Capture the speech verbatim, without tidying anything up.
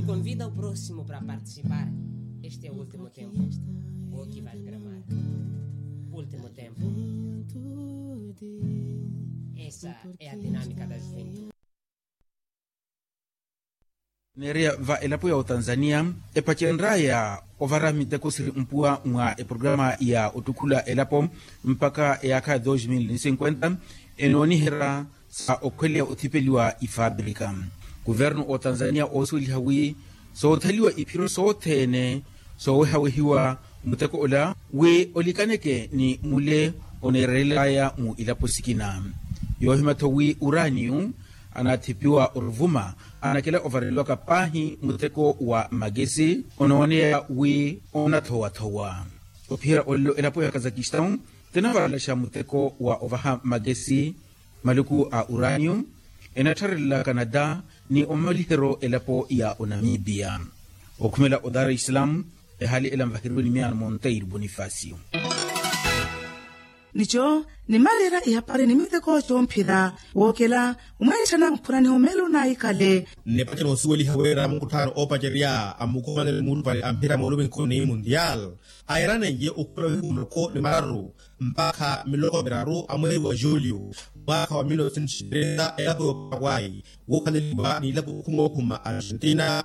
Convida o próximo para participar. Este é o último tempo. Vou aqui vai gramar. Último tempo. Essa é a dinâmica da juventude. Neereya va elapo ya otanzania epacenraya ovara miteko siri mpuwa mwa eprograma ya ottukhula elapo mpakha eyaakha ya dos mil cinquenta, enooniherya sa okhweleya othipeliwa ifabrika. Kuvernu otanzania oosuweliha wi soothaliwa iphiro sothene soowehawehiwa muteko ola wi olikaneke ni mule oneerelelaya mu ilapo sikina. Yoohima-tho wi uraniyu anaathipiwa oruvuma anakela ovareliwaka paahi muteko wa makesi onooneya wi onathowathowa. Ophiyerya olelo elapo ya kazakistan tinavarelaxa muteko wa ovaha makesi maluku a uranium enattharelelaka nata ni omamaliheryo elapo ya onamibia. Okhumela o dar es salaam ehaali ela nvaheriwe ni miyaano monteiro bonifacio. Nico nimaleera ihapari ni miteko comphira wookela omweetthana mphuraniho meelo naikale. Nnepace noosuweliha wira mukutthaano oopacerya a mukhumanele muulupale a mphira mooluminkhu ni mundial ayeraneiye okhula wihuuloko ni mararu mpakha miloko miraru a mweeri wa julio mwaakha wa mil novecentos trenta elapo y'oparaguay wookhaleliwa ni ilapo okhuma okhuma argentina.